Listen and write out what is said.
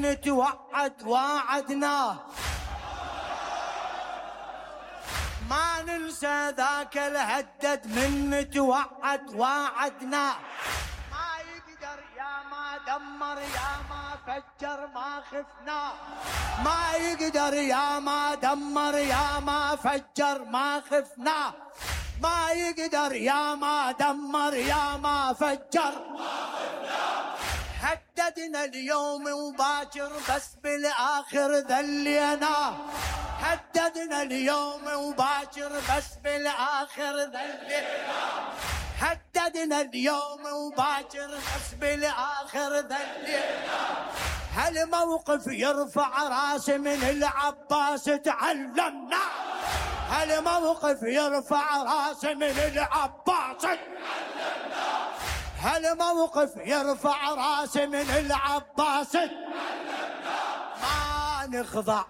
نتوعد واعدناه، ما ننسى ذاك الهدد من نتوعد واعدناه. ما يقدر يا ما دمر يا ما فجر ما خفناه، ما يقدر يا ما دمر يا ما فجر ما خفناه، ما يقدر يا ما دمر يا ما فجر ما خفناه. هددنا اليوم وباكر بس بالاخر ذليناه، هددنا اليوم وباكر بس بالاخر ذليناه، هددنا اليوم وباكر بس بالاخر ذليناه. هالموقف يرفع راس من العباس تعلمنا، هالموقف يرفع راس من العباس تعلمنا، هالموقف يرفع راس من العباس تعلمنا. ما نخضع